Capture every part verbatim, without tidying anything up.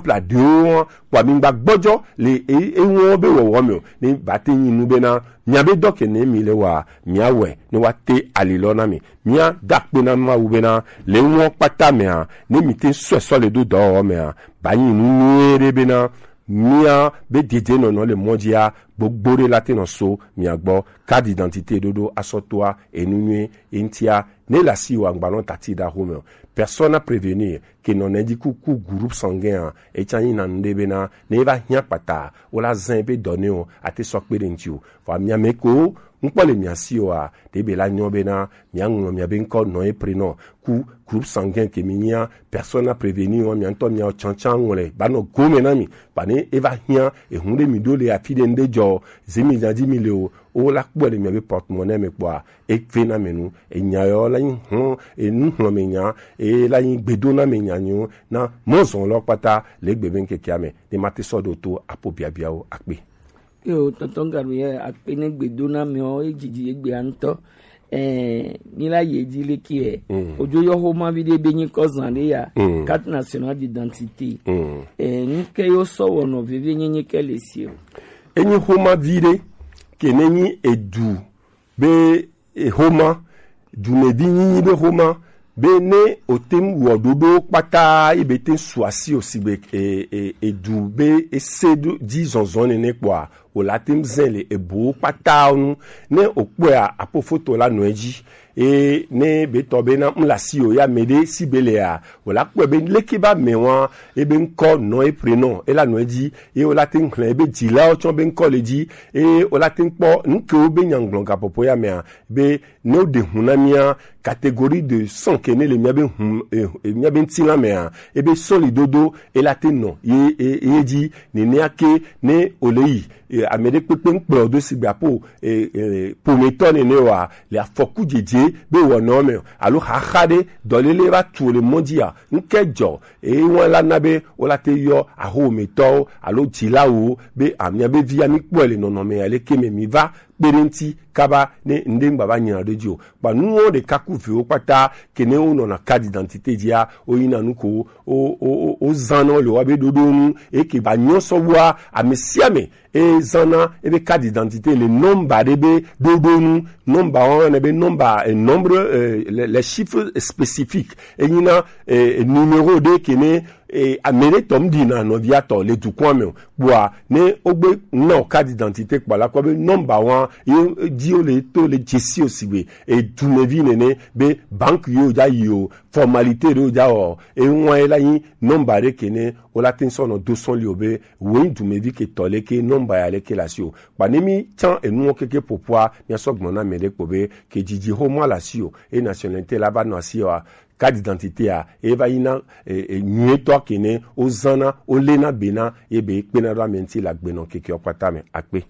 pla ɖewo hã, kpɔ mi gba gbɔjɔ le e- enuwo be wɔwɔ me o. Ne ba te nyi nu bena mia be dɔ ke ne mi le wa, mia wɛ ne wa te ali lɔ na mi. Mia da kpe na Mawu bena le nuwo kpata mea, ne mi te sɔe sɔ le do dɔwɔwɔ mea, ba nyi nu nyuie ɖe bena mia be dedienɔnɔ le mɔ dzia, gbogbo ɖe la te nɔ so mia gbɔ. Carte d'identité ɖoɖo asɔ toa enu nyuie eŋtia ne la si wa ngbalɔ tati da xome o. Persona prévenir ke nɔ ne di kuku groupe sanguin a, etsa nyi na nu ɖe bena ne eva hiã kpata o la zã ebe dɔ ne o ate sɔ kpe ɖe ŋti o. Vɔ mia me ko ŋkpɔ le mia si o a, ɖe be la nyɔ bena mia ŋlɔ mia be ŋkɔ nɔ e prénom ku groupe sanguin ke mi nyia, persona prévenir wa mia ŋtɔ mia tsantsan ŋlɔ ba nɔ gome na mi. Ba ne eva hiã ehun ɖe mi ɖo le afi ɖe ŋɖe dzɔ, zimi nya dzi mi le o, o la kpɔe le mia be porte-monnaie me kpɔa, e ve na me nu. Enya yɔ la nyi hlɔ̃ enu hlɔ̃ me nya, e la nyi gbedo na me nya nyo na mɔzɔn lɔ kpata le gbe be ŋkekea me ne ma te sɔ ɖo to apo biabiawo akpe. Yo, tonton Gabriel, akpe ne gbedo na me o, e dzidzi egbe ŋutɔ. Eh, mi la yi edzi leke ɛ. Mm. Odzo yɔ xoma vi ɖe be nyi kɔ zan ɖe ya. Mm. Carte nationale d'identité. Mm. Eh, nu ke yo sɔ wɔnɔ veve nyenye ke le si o. Enyi xoma vi ɖe ke ne nyi edu be e xoma, dumevi nyinyi be xoma, be ne o te ŋu wɔ ɖoɖo kpata yi be te su asi o sigbe e, e, edu be ese ɖo dzi zɔzɔ nene kpɔa, o la te ŋu zɛ le ebo kpata nu. Ne o kpɔa, apo foto la nɔ edzi. E ne be tɔ be na ŋu la si o ya me ɖe si be lea, o la kpɔe be leke ba me wa, e be ŋkɔ nɔ e prénom e la nɔ edzi. E o la te ŋu xlẽ e be dzilawo tsɔ be ŋkɔ le dzi. E o la te ŋu kpɔ nukewo be nyagblɔ gapɔpɔ ya mea, be ne o ɖe hun na mia catégorie de sang ke ne le mia be hun, e, e, mia be ŋutilã mea, e be sɔli dodo e la te nɔ ye, ye, ye dzi. Nenea ke ne o le yi, e, ame ɖe kpekpe ŋkplɔ do sigbe apo, e, e, pometɔ nene wa le afɔku dzedze be wɔnɔ me o, alo xaxa ɖe dɔlele va tu le mɔ dzi a, ŋke dzɔ, e wan la na be o la te yɔ ahometɔwo alo dzilawo be amia be via mi kpɔe le nɔnɔme ya leke me mi va kpe ɖe ŋti kaba ne ŋɖe ŋgba va nyina ɖe dzi o. Kpa nuwo ɖeka ku vewo kpata ke ne wo nɔna carte d'identité dzia, wo yina nu ko wo, wo, wo, wo zan nɔ le wa be ɖoɖo nu, eke ba nyɔ sɔ wa ame sia ame e zan na ebe carte d'identité le nɔmba ɖe be ɖoɖo nu. Nɔmba wa ne be nɔmba, eh, nombre, eh, les, les chiffres spécifiques. E nyina, eh, numéro ɖe ke ne e, ame ɖe tɔ ŋɖi na nɔvia tɔ le dukɔa me o. Kpɔa, ne wogbe na o carte d'identité kpɔ la kpɔ be nɔmba wa ye dzi wo le to le dzesi o sigbe e dumevi nene be banque yo dza yi o, formalité ɖe wo dza wɔ, e ŋua ye la nyi nɔmba ɖe ke ne wo la te sɔ nɔ do sɔn li o be wo nyi dumevi ke tɔ le ke nɔmba ya le ke la si o. Kpa ne mi tsan enuwo keke ƒoƒoa, mia sɔ gblɔ na ame ɖe kpɔ be ke dzidzi xoma la si o, e nationalité la va nɔ asi o a, carte d'identité a, e va yi na, e, e, nyuietɔ ke ne wo zan na, wo le na be na, ye be kpena ɖo ame ŋti le agbenɔ kekeɔ kpata me. Akpe.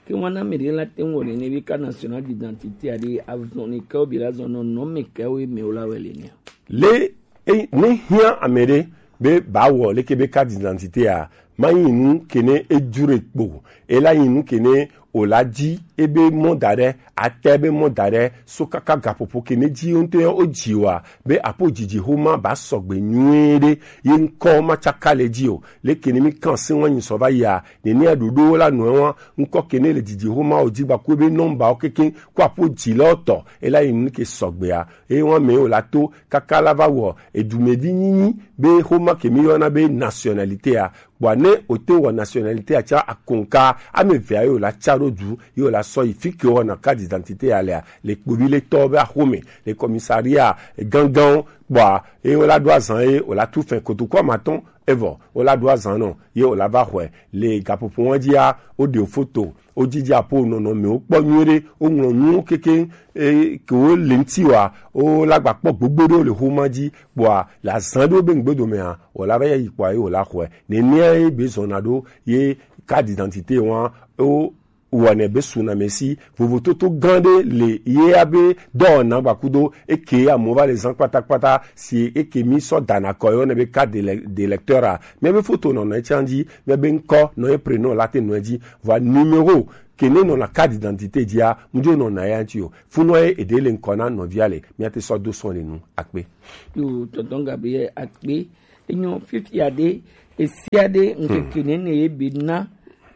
Ke wana me ɖe la te ŋu wɔ nene be carte nationale d'identité a ɖe azɔn ne ke wo bi la zɔn nɔ nɔ me ke wo me wo la wɛ le ne. Le e, ne hiã ame ɖe be ba wɔ leke be carte d'identité a, ma nyi nu ke ne e dure kpo, e la nyi nu ke ne o la dzi ebe mɔ da ɖe, ate be mɔ da ɖe, so kaka gaƒoƒo ke ne dzi wo ŋutɔ yɔ wo dzi wa, be apo dzidzi xoma ba sɔgbe nyuie ɖe, ye ŋkɔ ma tsaka le dzi o. Leke ne mi kan se wa nyi sɔ va yia, nenea ɖoɖo la nɔ wa, ŋkɔ ke ne le dzidzi xoma o dzi gba ku be nɔmba o keke ku apo dzi lɔ tɔ, e la yi nu ke sɔgbea, e wa me o la to, kaka la va wɔ, edumevi nyinyi, be xoma ke mi yɔna be nationalité a, kpɔa ne o te wɔ nationalité a tsa akonka, ame vea yo la tsa ɖo du, yo la sɔ yi fi ke wɔna carte d'identité a lea, le kpovi le tɔ be axome, le commissariat gangan, kpɔa, ye wo la ɖo azan ye, o la tu fɛn kotoku amatɔn, evɔ, wo la ɖo azan nɔ, ye o la va xɔe, le gaƒoƒo wa dzia, wo ɖe foto, wo dzidzi apo nɔnɔme wo kpɔ nyuie ɖe, wo ŋlɔ nuwo keke, e, ke wo le ŋti wa, wo la gba kpɔ gbogbo ɖewo le xoma dzi, kpɔa, le azan ɖewo be ŋgbedo mea, wo la va yi kpɔa, ye wo la xɔe. Nenea ye be zɔna ɖo, ye carte d'identité wa, wo wɔnɛ be sunamesi vovototo gã ɖe le ye abe dɔwɔna gbakudo eke amewo va le zã kpatakpata si eke mi sɔ dana kɔ ye wɔnɛ be carte d'élec-, d'électeur a. Mia be foto nɔ nɔ etsia dzi, mia be ŋkɔ nɔ ye prénom la te nɔ edzi, vɔa numéro ke ne nɔna carte d'identité dzia, mu dzo nɔna ya ŋti o. Funɔ ye eɖe le ŋkɔ na nɔvia le, mia te sɔ do sɔn le nu. Akpe. Yo, tonton Gabriel, akpe. Enyo, fifia ɖe, Esia ɖe ŋkeke nene ye be na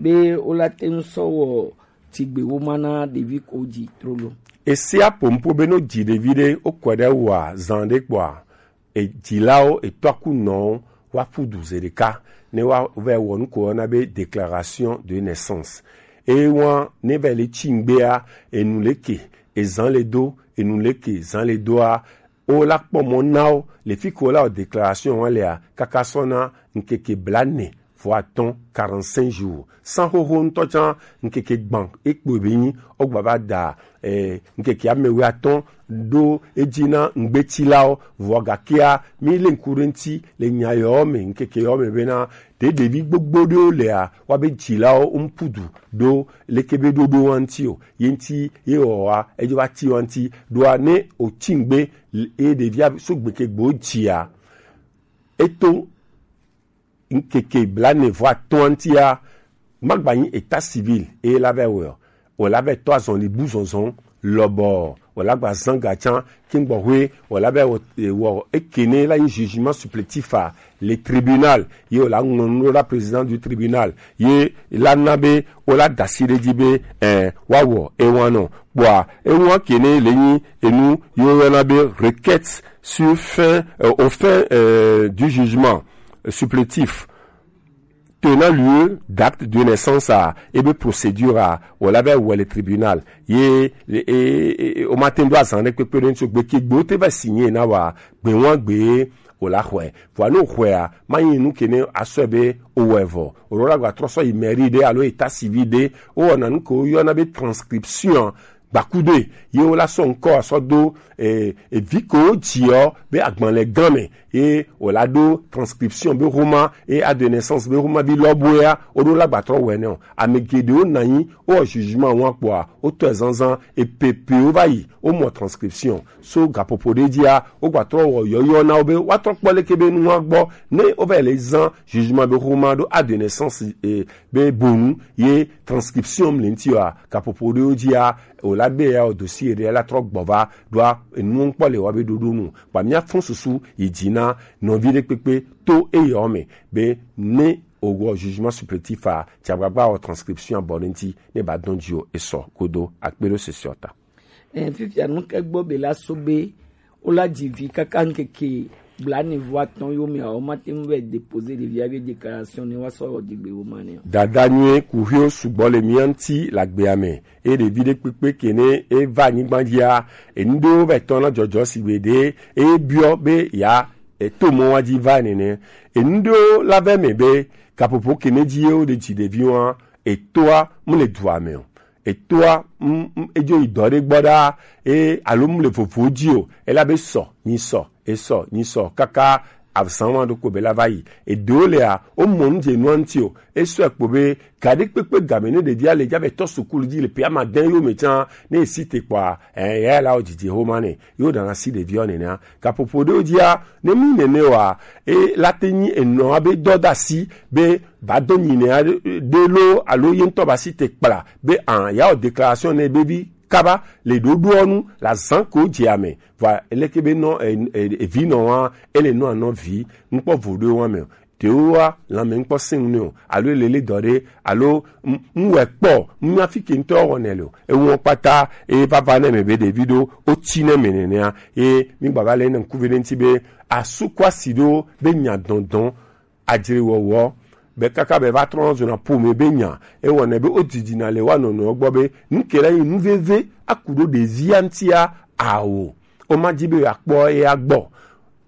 be wola te ŋu sɔ wɔ tigbe wo ma na ɖevi ko dzi trolo. Esia pompo be no dzi ɖevi ɖe wokɔ ɖe wa zan ɖe kpɔa, edzilawo etɔ aku nɔwo wa ƒu du ze ɖeka ne wa vɛ wɔ nu ko yɔna be déclaration de naissance. Eye wa ne vɛ le tsi ŋgbea, enu leke ezan le do, enu leke zan le doa, wo la kpɔ mɔ na wo le fi ke wo la wɔ déclaration wa lea kaka sɔ na ŋkeke blaene vɔ atɔ̃, quarante-cinq jours. San xoxo ŋutɔ tsã ŋkeke gbã ekpo be nyi wo gba va da eh, ŋkeke ame wuiatɔ̃ ɖo edzi na ŋgbetilawo, vɔ gakea mi le ŋku ɖe ŋuti le nya yawo me, ŋkeke yawo me bena ɖe ɖevi gbogbo ɖewo lea wa be dzilawo ŋu ƒu du ɖo leke be ɖoɖo wa ŋuti o. Ye ŋuti ye wɔ wa edzo va ti wa ŋuti ɖoa ne o tsi ŋgbe eye ɖevia so gbeke gbe wo dzia eto ŋkeke blaene vɔ atɔ̃ ŋutia, magba nyi état civil eye la vɛ wɔ o, la vɛ tɔ azɔli bu zɔnzɔn lɔbɔ, o la gba zan ga tsã kingbo hoe, o la vɛ wɔ, wɔ ekene la nyi jugement supplétif a le tribunal ye o la ŋlɔ nu ɖo la président du tribunal ye la na be o la dasi ɖe dzi be eh, wa wɔ ewan nɔ kpɔa ewan kene le nyi enu ye wo yɔna be requête sur fin euh, au fin euh, du jugement supplétif tenant lieu d'acte de naissance a ebe procédure a wala be wele tribunal ye e, e, e, o ma te ndo azan ɖe kpekpe ɖe ŋuti gbeke gbe wo te va signé na wa gbe wan gbe o la xɔe vɔa ne o xɔea ma nyi nu ke ne asɔe be o wɔ evɔ o ɖo la gba trɔ sɔ yi mairie ɖe alo état civil ɖe o wɔna nu ke wo yɔna be transcription gbakudoe ye wo la sɔ ŋkɔ asɔ do e, evi ke wo dziɔ be agbalẽ gã me ye o la ɖo transcription be homa ye a de naissance be homa bi lɔboea o ɖo la gba trɔ wɛ ne o ame geɖewo nanyi o wɔ jugement wa kpɔa o tɔ ezanzan epepewo va yi o mɔ transcription so gaƒoƒo ɖe dzia wo gba trɔ wɔ yɔyɔ na wo be wa trɔ kpɔ leke be nua gbɔ ne wo va yi le zan jugement be homa ɖo a de naissance e, be bonu ye transcription le ŋuti wa gaƒoƒo ɖewo dzia o la be ya o dossier ɖe la trɔ gbɔ va ɖoa enuwo ŋkpɔ le wa be ɖoɖo nu kpa mia fɔn susu yi dzi na nɔvi ɖe kpekpe to eyawo me be ne o wɔ jugement supplétif a tsi agbagba wɔ transcription abɔ ɖe ŋuti ne ba dɔn dzi o esɔ kodo akpe ɖo sesiɔ ta. Ɛɛ, fifia nu ke gbɔ be la so be wo la dzi vi kaka ŋkeke blaene vɔ atɔ̃ yo me a wo ma te ŋu vɛ déposer ɖevia be déclaration ne wa sɔ wɔ dzigbe wo ma ne o. Dada nyuie kuxio sugbɔ le mia ŋuti le agbea me eye ɖevi ɖe kpekpe ke ne e va anyigba dzia enu ɖewo vɛ tɔ na dzɔdzɔ si gbe ɖe e biɔ be ya eto mɔ wa dzi va nene enu ɖewo la vɛ me be gaƒoƒo ke ne dzi ye wo ɖe dzi ɖevi wa etoa mu le dua me o etoa mm, mm, edzo yi dɔ ɖe gbɔ ɖaa eye alo mu le vovo dzi o ela be sɔ nyi sɔ esɔ nyi sɔ kaka azan wa ɖo ko be la va yi eɖewo lea wo mɔ nu dze nua ŋuti o esɔ ekpo be ga ɖe kpekpe game ne ɖevia le dza be tɔ sukulu dzi le pe ama dɛn yo me tsã ne esi te kpɔa ɛ ya la wo dzidzi homa ne yo ɖana si ɖevia nenea gaƒoƒo ɖewo dzia ne mi nene wa e la te nyi enɔ abe dɔdasi be va do nyinɛ aɖe lo alo ye ŋutɔ va si te kpla be an ya wɔ déclaration ne be vi kaba le ɖoɖoɔ nu le azan ko dze ame vɔ eleke be nɔ evi nɔ wa ele nɔ anɔ vi ŋkpɔ vo ɖo wa me o ɖewo wa lãme ŋkpɔ sɛŋ ne o alo ele le dɔ ɖe alo ŋwɛ kpɔ ŋu afi ke ŋutɔ wɔ ne le o eŋu kpata eye vava ne me be ɖevi ɖo o tsi ne me nenea eye mi gbava le ne ŋkuvi ɖe ŋuti be asu kɔ asi ɖo be nya dɔndɔn adzre wɔwɔ be kaka be va trɔ zɔna ƒome be nya ewɔnɛ be wodidina le wa nɔnɔewo gbɔ be nu ke la nyi nu veve aku ɖo ɖevia ŋutia ao womadi be yeakpɔ eya gbɔ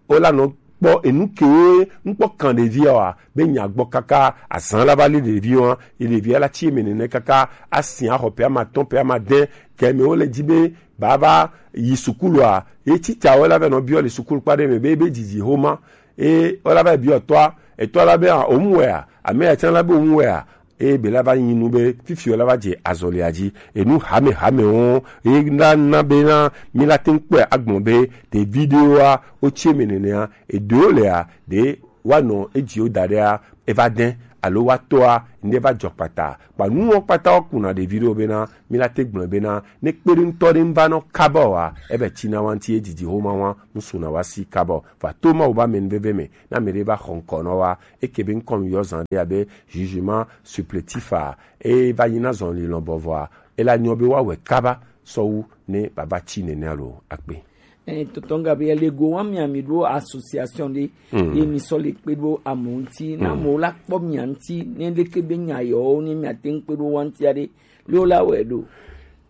wola nɔ kpɔ enu kewo ŋkpɔ kan ɖevia wa be nya gbɔ kaka azan la va li ɖevi wa ye ɖevia la tsi eme nene kaka asi axɔ ƒe ama tɔn ƒe ama de ke me wole dzi be bava yi sukulua ye titsawo la va nɔ biɔ le sukulu kpa ɖe me be ebe dzidzi homa eye wola va biɔ tɔa etɔ la be a omu wɛa ame ya tsã la be omu wɛa eye be la va nyi nu be fifi wola va dze azɔlia dzi enu hame hame wo eye la na be na mi la te ŋu kpɔe agbɔn be ɖevi ɖewoa wotsi eme nenea eɖewo lea ɖe woanɔ edziwo da ɖea eva de alo wa tɔa, ŋɖe va jɔ kpata. Kpa nuwo kpata wo kuna ɖevi ɖewo bena, mi la te gblɔe bena, ne kpeɖeŋutɔ ɖe ŋva nɔ kaba oa, ebe tsina wa ŋuti ye didi homa wa, ŋsuna wa si kaba o. Va to Mawu ba mɛnuveve me, na mɛ ɖe va xɔ ŋkɔ nɔ wa, eke be ŋkɔ mi yɔ zan ɖe abe jugement supplétif a, e va nyi na zɔn lilɔn bɔvɔa, e la nyɔ be wa wɛ kaba, sɔwu ne baba tsi nɛnɛ alo akpe. Eh, tɔtɔ Gabriel, ego wa mia mi ɖo association ɖe, ye mi sɔ le kpe ɖo amewo ŋuti, na amewo la kpɔ mia ŋuti, ne ɖeke be nya yɔwo, ne mia te ŋu kpe ɖo wa ŋuti aɖe, le wo la wɛ ɖo.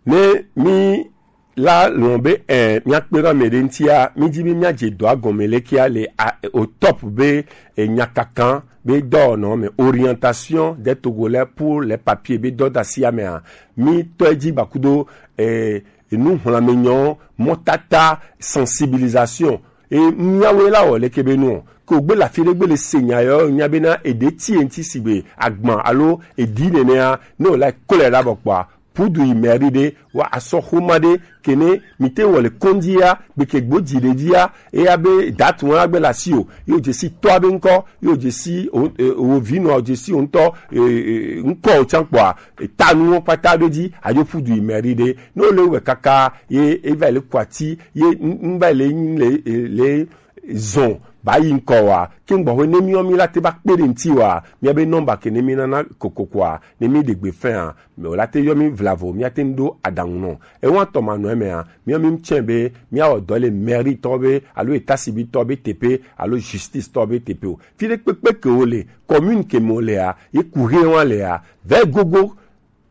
Ne mi la lɔn be, eh, mia kpe ɖo ame ɖe ŋutia, mi dzi be mia dze dɔa gɔme lekea le a, au top be, eh, nya kankan be dɔwɔnɔ me, orientation des Togolais pour les papiers be dɔdasi amea, mi tɔ edzi gbakudo, eh, enu xlãmenyɔ, mɔtata, sensibilisation. E miawoe la wɔ leke be nu o. Ke wògbe le afi ɖe gbe le se nya yɔ nya bena eɖe ti eŋti sigbe agban alo eɖi nenea, ne wòla kɔlɛ ɖa bɔ kpɔa, pudu yi mɛri ɖe wa asɔ xoma ɖe kene mi te wɔ le kɔndzi ya gbeke gbo dzi ɖe via eya be datu wa gbe le asi o, yo dze si tɔa be ŋkɔ, yo dze si o, e, o vi nɔ, o dze si o ŋutɔ, e, e, ŋkɔ o tsan kpɔa, e, ta nuwo kpata ɖo dzi, adzo ƒu du yi mɛri ɖe. Ne wole wɛ kaka, ye, e va yi le kɔ ati, ye, n-, n va yi le, le, le zɔn ba yi ŋkɔ wa. Ke ŋgbɔ ƒe ne miɔ mi la te va kpe ɖe ŋti wa, mia be nɔmba ke ne mi nana kokoko a, ne mi ɖe gbe fɛn a, mɛ o la te yɔ mi vlavo, mia te ŋu ɖo aɖaŋu nɔ. Ewa tɔ ma nɔ eme a, miɔ mi ŋtsɛ be, mia wɔ dɔ le mɛri tɔ be, alo eta si bi tɔ be tepe, alo justice tɔ be tepe o. Fi ɖe kpekpe ke wo le, commune ke me wo le a, ye ku he wa le a, vɛ gogo,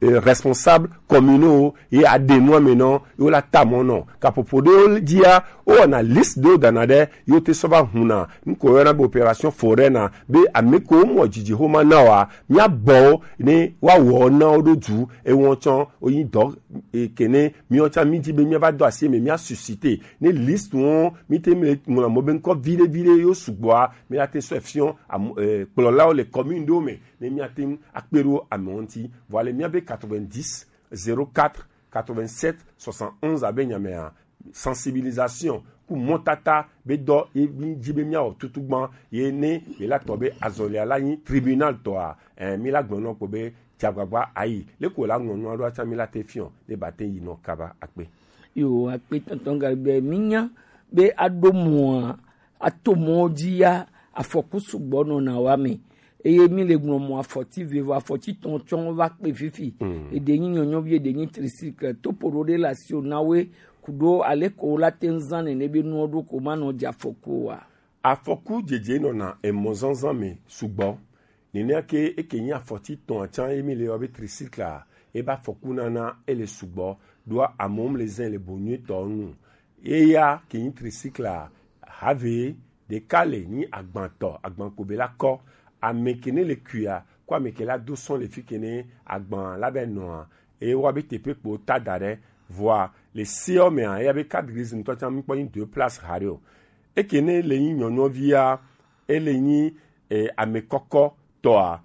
eh, responsable communaux ye aɖe nua me nɔ, ye wo la ta mɔ nɔ. Kaƒoƒo ɖewo dzia, wowɔna liste ɖewo dana ɖe, ye wote sɔ va huna. Nu ko woyɔna be opération foraine na, be ame ko womɔ dzidzi xoma na wa, mia bɔ wo, ne woawɔ na wo ɖo du, ewɔ tsɔ, wonyi dɔ, e, ke ne miɔ tsã mi dzi be mia va do asi me, mia susciter. Ne liste wo, mi te mi le ŋlɔ mo be ŋkɔ viɖe viɖe yo sugbɔa, mi la te sɔ fiɔ, am-, e, kplɔlawo le commune ɖewo me. Ne míate ŋu akpe ɖo amewo ŋuti. Vɔ ale míabe quatre-vingt-dix, zéro quatre, quatre-vingt-sept, soixante-onze abe nyamea, sensibilisation ku mɔtata be dɔ ye mi dzi be míawɔ tutu gbã ye ne ye la tɔ be azɔlia la nyi tribunal tɔa, eh, mi la gblɔ nɔ kpo be dzagbagba ayi. Leko la ŋlɔ nua ɖo atsa mi la te fiɔ ne ba te yi nɔ kaba akpe. Yo, akpe tɔntɔn Gabriel, mi nya be aɖo mɔa, ato mɔ dzi ya, afɔku sugbɔ nɔna wa me. Eye mi le gblɔ mɔ afɔti vevo, afɔti tɔn tsɔ va kpe fifi. Eɖe nyi nyɔnyɔvi, eɖe nyi tricycle. Topo ɖo ɖe le asi o na we, ku ɖo ale ko wo la te ŋu zã nene be nuwo ɖo ko ma nɔ dze afɔku o wa. Afɔku dzedze nɔna emɔ zazã me sugbɔ. Nenea ke eke nyi afɔti tɔn atsã ye mi le yɔ be tricycle a, ebe afɔku nana ele sugbɔ. Ɖoa amewo le zã le bo nyuitɔ nu. Eya ke nyi tricycle a, have ɖeka le nyi agbantɔ, agban ko be la kɔ. Ame ke ne le kuia, ko ame ke la do sɔn le fi ke ne agban la be nɔa, e wa be teƒe kpo ta da ɖe. Vɔa le seɔ mea, eya be carte grise ŋutɔ tsã mi kpɔ nyi deux places haɖe o. Eke ne le nyi nyɔnyɔvia, ele nyi, eh, ame kɔkɔ tɔa,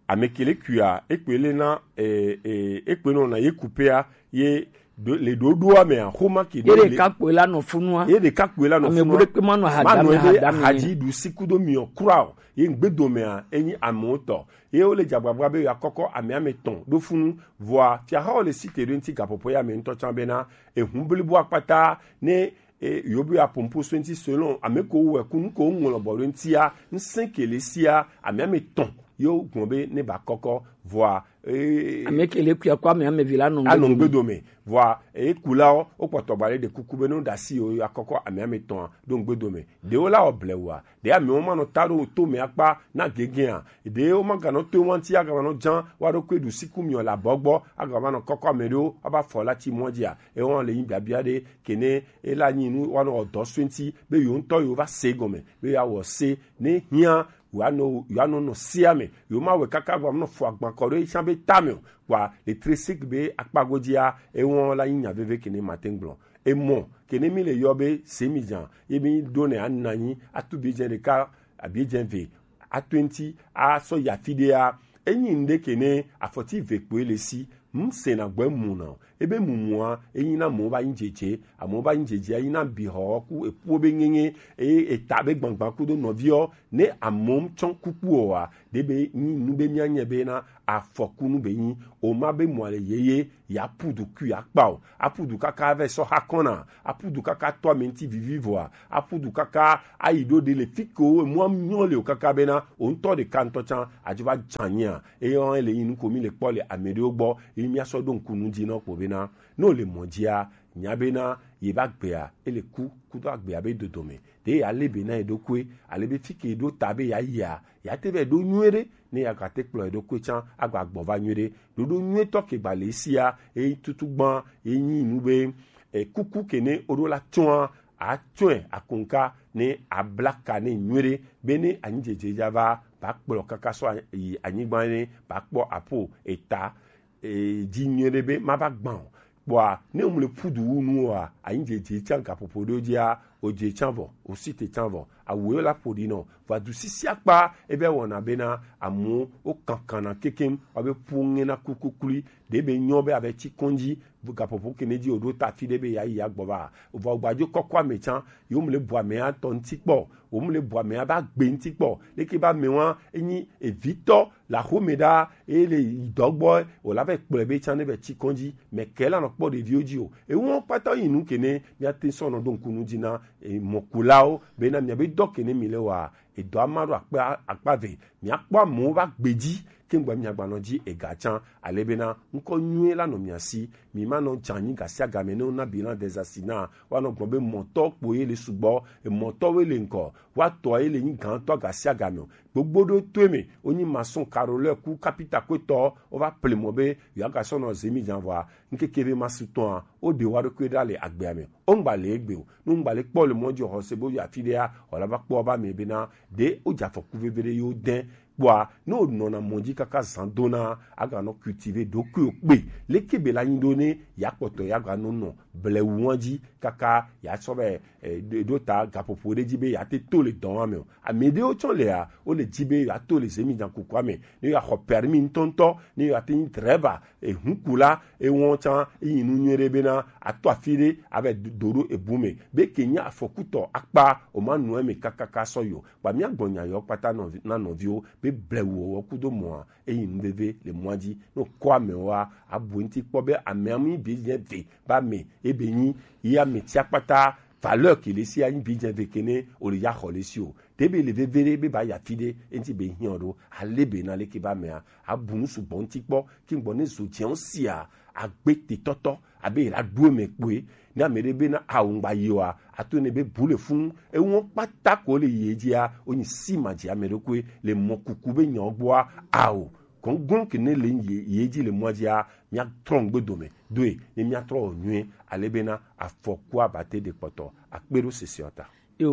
ame ke le kuia, ekpe le na, eh, eh, ekpe nɔ na ye kupea, ye ɖo, le ɖoɖoa mea, xoma ke ye ɖe ɖeka kpoe la nɔ funua. Ye ɖeka kpoe la nɔ funua. Ame bu ɖekpe ma nɔ ahadame, ahadame. Ahadzi ɖu si kudo miɔ kura o. Ye ŋgbedomea, enyi amewo tɔ. Ye wo le dzagbagba be yeakɔkɔ ame ame tɔn ɖo funu. Vɔa, fiahawo le site ɖo ŋuti gaƒoƒo ya me ŋutɔ tsã bena, ehu blibo akpata ne e, yo be apompo so ŋuti selon ame ko wɛ ku nu ko ŋlɔ bɔ ɖo ŋutia, ŋsẽ ke le sia, ame ame tɔn yo gblɔ be ne ba kɔkɔ. Vɔa, e, ame ke le kuya ko ame ame vi la nɔ anɔ ŋgbedo me. Vɔa, e, kulawo wo kpɔtɔ gba ɖe ɖe kuku be ne wo ɖe asi yo, yo akɔkɔ ame ame tɔn ɖo ŋgbedo me. Ɖewo la wɔ blewua, ɖe amewo ma nɔ ta ɖo to me akpa na gegea. Ɖe wo ma ganɔ to wa ŋuti agava nɔ dzã wa ɖo koe ɖu siku miɔ la bɔgbɔ agava nɔ kɔkɔ ame ɖewo aba fɔ la tsi mɔ dzia. Ewa le yin biabia ɖe, ke ne e la nyi nu wa nɔ dɔ so ŋuti be yo ŋutɔ yo va se gɔme be ya wɔ se ne hiã, yo anɔ, yo anɔ nɔ sea me, yo ma wɛ kaka gba nɔ fɔ agban kɔ ɖo etsã be tame o. Kpa le tresik be akpa godzia, ewa la nyi nya veve ke ne ma te gblɔ. Emɔ ke ne mi le yɔ be se mi dzã, ye mi ɖo ne ana nyi atu bi dze ɖeka abi dze ve atu ŋuti asɔ ya fi ɖea, enyi ŋɖe ke ne afɔti ve kpoe le si. Ŋsena gbɔ emu na o. Ebe mumua, eyi na amewo ba nyi dzedze, amewo ba nyi dzedze, eyi na bihɔ ku eku be ŋeŋe, eye eta be gbangba kudo nɔviɔ, ne amewo tsɔ kuku o wa, de be nyi nu be mia nye be na afɔku nu be nyi, o ma be mua le yeye, ya pudu kui akpa o, apudu kaka ve sɔ ha kɔna, apudu kaka tɔ ame ŋti vivi vɔa, apudu kaka ayi ɖo ɖe le fi ke wo emua nyɔ le o kaka be na o ŋtɔ ɖeka ŋtɔ tsã, adzo va dzanyia, eye wɔn le yi nu ko mi le kpɔ le ame ɖewo gbɔ, eye mia sɔ ɖo ŋku nu dzi nɔ kpo be na, ne o le mɔ dzia, nya be na ye ba gbea, e le ku, kudo agbea be dodome, ɖe ya le be na ye ɖokui, ale be fi ke ɖo ta be ya yia, ya te vɛ ɖo nyuie ɖe, ne ya gate kplɔ ye ɖokui tsã, agba gbɔ va nyuie ɖe, ɖoɖo nyuie tɔ ke gba le sia, e tutu gbã, e nyi nu be, e kuku ke ne o ɖo la tsɔa, atsɔe akonka ne abla ka ne nyuie ɖe, be ne anyi dzedze dza va, ba kplɔ kaka sɔ a-, yi anyigba ne ba kpɔ apo eta, e, dzi nyuie ɖe be ma va gbã o. Kpɔa, ne o mu le pudu wu nu wa, anyi dzedze tsã gaƒoƒo ɖewo dzia, o dze tsã vɔ, o si te tsã vɔ, awu yo la ƒo ɖi nɔ, vɔ adu sisi akpa, e vɛ wɔna be na amu o kankana kekem, wa be pu ŋe na kukuklui, ɖe be nyɔ be a vɛ tsi kɔndzi, gaƒoƒo ke ne dzi o ɖo ta fi ɖe be ya yi ya gbɔ va, vɔ gbadzo kɔkɔ ame tsã, yo mu le bu ame atɔ ŋti kpɔ, o mu le bu ame aba gbe ŋti kpɔ, leke ba ame wa, enyi evitɔ, le axome ɖa, eye le yi dɔ gbɔ, wòla va yi kplɔe be tsã ne va yi tsi kɔndzi, mɛ kɛ la nɔ kpɔ ɖeviwo dzi o. Ewo kpata yi nu ke ne míate sɔ nɔ ɖo ŋku nu dzi na, e, mɔkulawo, bena miabe dɔ ke ne mi le wa, edɔ ama ɖo akpa, akpa ve. Miakpɔ amewo va gbe dzi, ke ŋgba miagba nɔ dzi ega tsã, ale bena ŋkɔ nyuie la nɔ mia si. Mi ma nɔ dza anyi gasiagame ne wona bilan des assises na, woanɔ gblɔ be mɔtɔ kpo ye le sugbɔ, emɔtɔwoe le ŋkɔ, woatɔ ye le nyi gãtɔ gasiagame o. Gbogbo ɖo toe me, wonyi maçon, carreleur ku kapita kwetɔ, wova ple mɔ be yewoagasɔ nɔ zemi jan vɔa, ŋkeke ve ma su tɔa, woɖe woa ɖokui ɖa le agbea me. Wongba le egbe o. Ne wongba le kpɔ le mɔ dzi o, xɔse bo yi afi ɖea, wòla va kpɔ va me bena ɖe wodze afɔku veve ɖe yewo de. Kpɔa, ne wonɔna mɔ dzi kaka zan dona, aganɔ cultiver ɖokuiwo kpe. Leke be la nyi ɖo ne ya kpɔtɔ ya ganɔ nɔ blewu wa dzi kaka ya sɔ vɛ, e, ɖo, ɖo ta gaƒoƒo ɖe dzi be yeate to le dɔ wa me o. Ame ɖewo tsɔ lea, wole dzi be yeato le zemi jan kukua me, ne yeaxɔ permis ŋutɔŋutɔ, ne yeate nyi driver, e, hunkula, ewɔn tsã, eyi nu nyuie ɖe bena ato afi ɖe, avɛ do, do ɖo ebu me. Be ke nye afɔkutɔ akpa, o ma nɔ eme kakaka sɔ yi o. Kpa mía gbɔ nya yɔ kpata nɔvi, na nɔviwo, be blewu wɔwɔ kudo mɔa, eyi nu veve le mɔa dzi. Ne wokɔ amewoa, abu ŋti kpɔ be amea mu nyi bi nye ve, ba me, ebe nyi, yi ame tsia kpata, valeur ke le si anyi bi dze ve ke ne o le ya xɔ le si o. Te be le veve ɖe be ba ya fi ɖe, enti be hiã ɖo, ale be na leke ba mea, abu nu sugbɔ ŋti kpɔ, ki ŋgbɔ ne zo dze ŋ sia, agbe te tɔtɔ, abe la ɖo eme kpoe, ne ame ɖe be na awu ŋgba yi wa, ato ne be bu le fun, ewɔ kpata ko le yi dzia, o nyi si ma dzi ame ɖokui, le mɔ kuku be nyɔ gbɔa, ao, gɔngɔn ke ne le yi, yi dzi le mɔ dzia, mía trɔ ŋgbe dome, doe, ne mía trɔ wɔ nyuie, ale bena afɔku abate ɖe kpɔtɔ, akpe ɖo sese ɔ ta. Yo,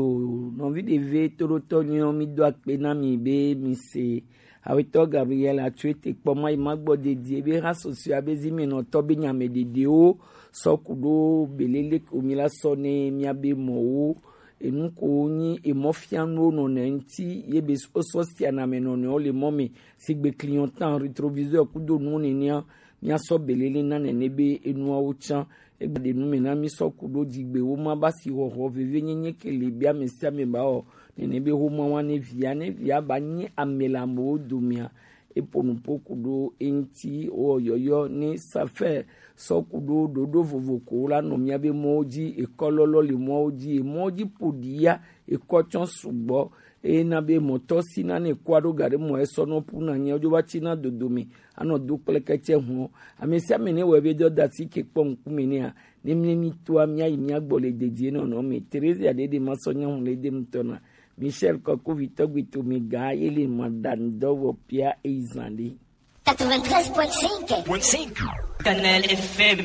nɔvi ɖeve toɖotɔ nyuiɔ, mi do akpe na mi be mi se. Awetɔ Gabriel Atsuete kpɔ ma yi ma gbɔ dedie be ha sɔsɔe be zi mi nɔ tɔ be nyame ɖeɖewo sɔ ku ɖo belele ko mi la sɔ ne mia be mɔwo. Enu ko nyi emɔfianuwo nɔ ne ŋti ye be osɔ sia na me nɔ ne wo le mɔ me. Sigbe clignotant, rétroviseur kudo nu nenea, míasɔ belele na nene be enuawo tsã. Egbe ɖe nu me na mí sɔ ku ɖo dzigbe wo ma ba si xɔxɔ veve nyenye ke le be ame sia ame ba wɔ nene be xoma wa ne via, ne via ba nye ame le amewo domea. Eƒo nu ƒo ku ɖo eŋti wɔ yɔyɔ ne safɛ sɔ ku ɖo ɖoɖo vovo ko la nɔ mía be mɔwo dzi, ekɔ lɔlɔ le mɔwo dzi, emɔwo dzi ƒo ɖi ya, ekɔ tsɔ sugbɔ. Eye na be mɔtɔ si na ne kua ɖo ga ɖe mɔ esɔ nɔ pu na nyɛ wodzo va tsi na dodo me anɔ do kple kɛtsɛ hɔn. Ame sia ame ne wɔ ebe dɔ da si ke kpɔ ŋkume nea, ne mle mi toa mía yi mía gbɔ le dedie nɔnɔ me. Teresia ɖe ɖe ma sɔ nya ŋu le de ŋutɔ na. Michel Kɔkovi tɔgbi to mi ga ye le ma da ŋdɔ wɔ pia eyi zan ɖe. Quatre-vingt-treize point cinq. Kanal F M.